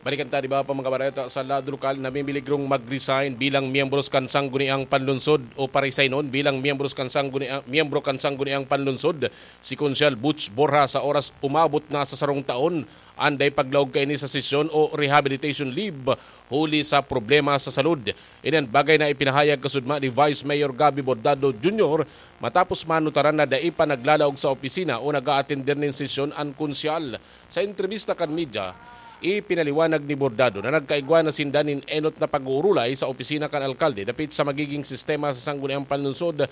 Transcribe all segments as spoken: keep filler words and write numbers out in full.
Balikan ta, di ba, pa mga bareta sa lado lokal, namimiligrong mag-resign bilang miyembros kan Sangguniang Panlunsod o paresignon bilang miyembros kan Sangguniang, miyembro kan Sangguniang Panlunsod si Konsyal Butch Borja sa oras umabot na sa sarong taon an dai paglaog kaini sa sesyon o rehabilitation leave huli sa problema sa salud. Ini an bagay na ipinahayag kasudma ni Vice Mayor Gabby Bordado Junior matapos manutaran na dai pa naglalaog sa opisina o nag-aatender nin sesyon an konsyal. Sa entrebista kan media, ipinaliwanag ni Bordado na nagkaigwa na sinda nin enot na pag-uurulay sa opisina kan alkalde dapit sa magiging sistema sa Sangguniang Panlunsod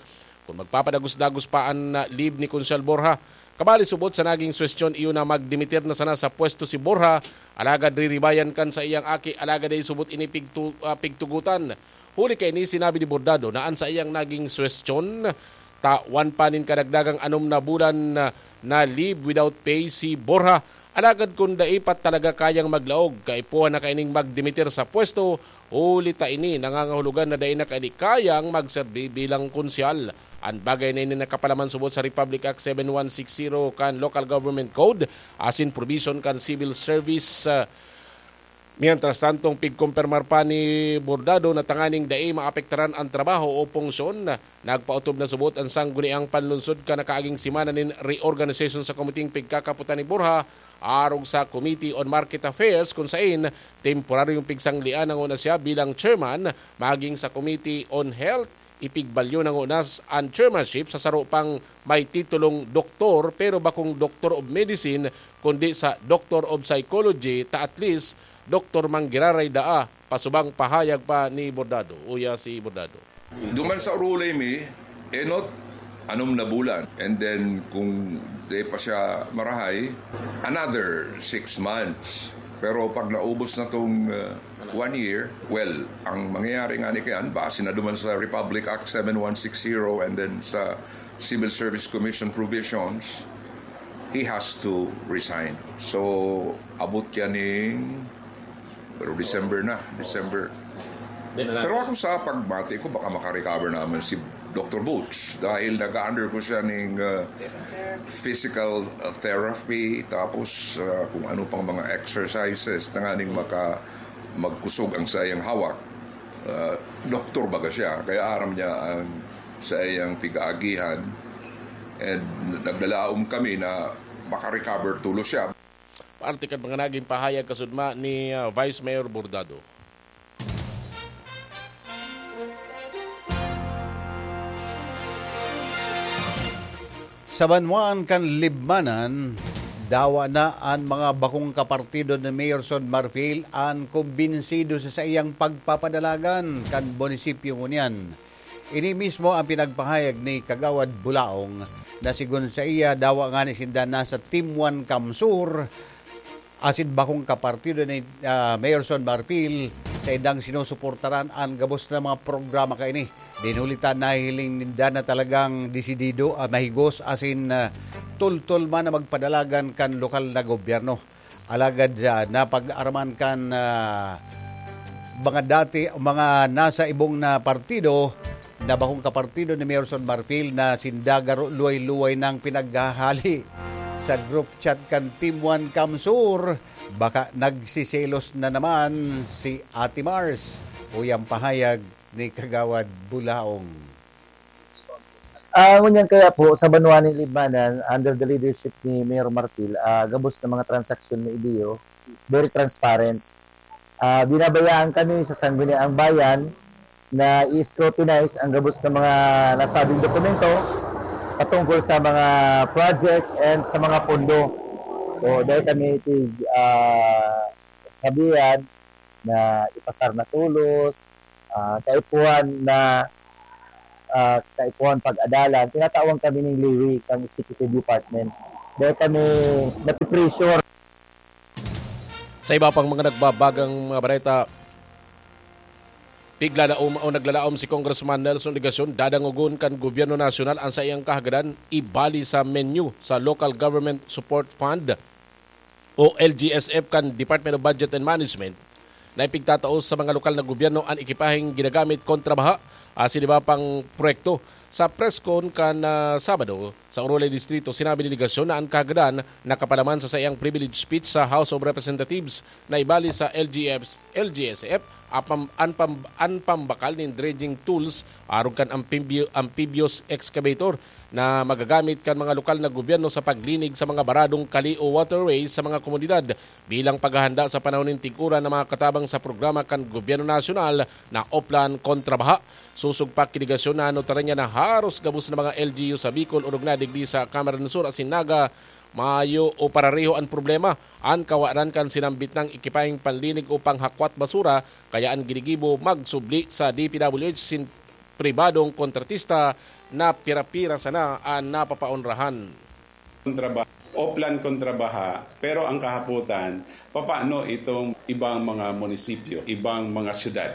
kun magpapadagos-dagos pa an, ah, leave ni Konsyal Borja. Kabali, subot sa naging suwestyon iyo na magdimitir na sana sa pwesto si Borja, alagad riribayan kan sa iyang aki, alagad ay subot ini pigtu-, ah, pigtugutan. Huli kaini, sinabi ni Bordado na an saiyang naging suwestyon, tawan pa nin kadagdagang anom na bulan na, na leave without pay si Borja. Alagad kun dai pa talaga kayang maglaog, kaipuhan na kaining magdimitir sa pwesto, huli ta ini nangangahulugan na dai na kaini kayang magserbi bilang konsyal. An bagay na ini nakapalaman subot sa Republic Act seven one six zero kan Local Government Code asin provision kan Civil Service, ah, Mientras tanto, pigkumpirmar pa ni Bordado na tanganing dai maapektaran an trabaho o punksyon, nagpaotob na subot an Sangguniang Panlunsod kan nakaaging semana nin reorganization sa komiteng pigkakapotan ni Borja arog sa Committee on Market Affairs, kun sain temporaryong pigsanglean na nguna siya bilang chairman, maging sa Committee on Health, ipigbalyo na nguna an chairmanship sa saro pang may titulong doktor, pero bakong Doctor of Medicine, kundi sa Doctor of Psychology, ta at least doktor man giraray daa, pasubang pahayag pa ni Bordado. Uya si Bordado. Duman sa urulay mi, enot, anom na bulan. And then, kung di pa siya marahay, another six months. Pero pag naubos na tong, uh, one year, well, ang mangyayari nga ni kayan, base na duman sa Republic Act seven one six zero and then sa Civil Service Commission provisions, he has to resign. So, abot yan ning, pero December na, December. Pero ako, sa pagmati ko, baka makarecover naman si Doctor Boots dahil nag-undergo siya ning, uh, physical, uh, therapy, tapos, uh, kung ano pang mga exercises, tanganing maka-, magkusog ang sayang hawak. Uh, doktor baga siya, kaya aram niya ang sayang pigaagihan. And naglalaom kami na makarecover tulos siya. Parte kan mga naging pahayag kasudma ni, ah, Vice Mayor Bordado. Sa banwaan kan Libmanan, dawa na an mga bakong kapartido ni Mayor Son Marfil an kumbinsido sa saiyang pagpapadalagan kan munisipyo ngunyan. Ini mismo ang pinagpahayag ni Kagawad Bulaong na sigon saiya, dawa ngani sinda nasa Team One CamSur asin bakong kapartido ni, ah, Mayor Son Marfil, saindang sinusuportaran an gabos na mga programa kaini. Dinuli ta nahihiling ninda na talagang desidido, ah, mahigos asin, ah, tultol man na magpadalagan kan lokal na gobyerno. Alagad, ah, napag-araman kan, ah, mga dati, mga nasa ibong na partido, na bakong kapartido ni Mayor Son Marfil na sinda garo luway-luway nang pinaghahali sa group chat kan Team One CamSur. Baka nagsiselos na naman si Ate Mars, uyang pahayag ni Kagawad Bulaong. Ah, ngunyan kaya po, sa banwa ni Libmanan, under the leadership ni Mayor Marfil, ah, gabos na mga transaksyon na idiyo, very transparent. Ah, binabayaan kami sa Sangguniang Bayan na i-scrutinize ang gabos na mga nasabing dokumento patungkol sa mga project and sa mga pondo. So, dahil kami tig, ah, sabihan na ipasar na tulos, ah, kaipuhan na, ah, kaipuhan pag-adalan, tinatawan kami ning leeway kang executive department. Dahil kami napipressure. Sa iba pang mga nagbabagang mga bareta, piglalaom o naglalaom si Congressman Nelson Legacion, dadangogon kan gobyerno nasyonal ang saiyang kahagadan ibali sa menu sa Local Government Support Fund o L G S F kan Department of Budget and Management na ipigtatao sa mga lokal na gobyerno an ekipaheng ginagamit kontra baha asin iba pang proyekto. Sa press con kan, ah, Sabado, sa Orolay Distrito, sinabi ni Legacion na an kahagadan nakapalaman sa saiyang privilege speech sa House of Representatives na ibali sa L G Fs, L G S F, apam-, an pam-, an pambakal nin dredging tools arog kan ampibyo-, amphibious excavator na magagamit kan mga lokal na gobyerno sa paglinig sa mga baradong kali o waterways sa mga komunidad bilang paghahanda sa panahon nin tig-uran na makatabang sa programa kan gobyerno nasyonal na Oplan Kontra Baha. Sosog pa ki Legacion na anotaran niya na haros gabos na mga L G U sa Bicol, orog na digdi sa Camarines Sur asin Naga, mayo o parareho an problema. An kawaran kan sinambit nang ekipaheng panlinig o panghakwat basura, kaya an ginigibo magsubli sa D P W H sin pribadong kontratista na pira-pira sana an napapaonrahan. Kontra Baha, Oplan Kontra Baha, pero ang kahapotan, papaano itong ibang mga munisipyo, ibang mga syudad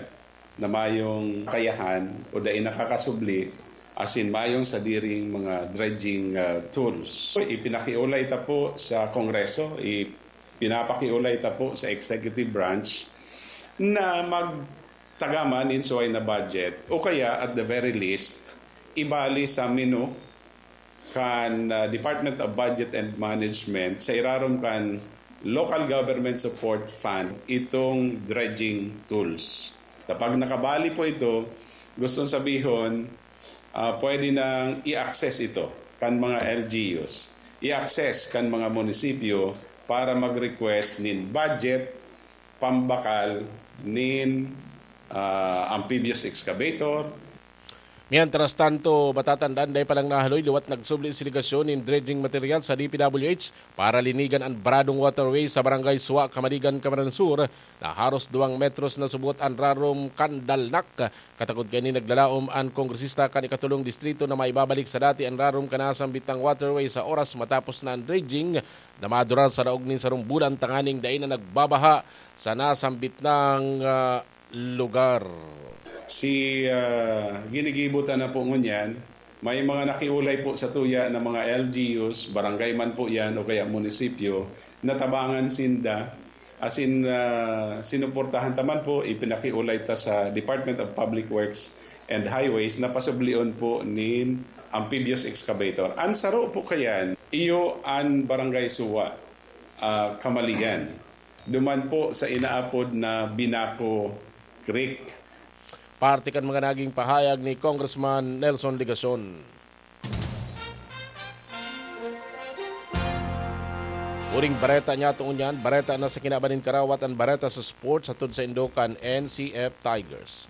na mayong kakayahan o dai nakakasubli asin mayong sadiring mga dredging, ah, tools? Ipinakiolay ta po sa Kongreso, ipinapakiolay ta po sa executive branch na magtaga man nin suway na budget o kaya at the very least, ibali sa menu kan, ah, Department of Budget and Management sa irarom kan Local Government Support Fund itong dredging tools. Kapag nakabali po ito, gustong sabihon, ah, pwede nang i-access ito kan mga L G Us, i-access kan mga munisipyo para mag-request nin budget pambakal nin, ah, amphibious excavator. Mientras tanto, matatandaan, dai pa lang nahaloy, liwat nagsubli si Legacion nin dredging material sa D P W H para linigan an baradong waterway sa Barangay Suwa, Kamaligan, Camarines Sur, na haros duwang metros na subot an rarom kan dalnak. Katagod kaini, naglalaom an kongresista kan ikatolong distrito na maibabalik sa dati an rarom kan nasambit nang waterway sa oras matapos na an dredging na madurar sa laog nin sarong bulan tanganing dai na nagbabaha sa nasambit nang, ah, lugar. Si, ah, ginigibo ta na po ngunyan, may mga nakiulay po sa tuya na mga L G Us, barangay man po yan o kaya munisipyo, natabangan sinda. Asin, ah, sinuportahan ta man po, ipinakiulay ta sa Department of Public Works and Highways na pasublion po nin amphibious excavator. An saro po kayan, iyo an Barangay Suwa, ah, Kamaligan. Duman po sa inaapod na Binaco Creek. Parte kan mga naging pahayag ni Congressman Nelson Legacion. Uring bareta niya tungod niyan, bareta na sa kinaban nin karawat an bareta sa sports hatod sa indo kan N C F Tigers.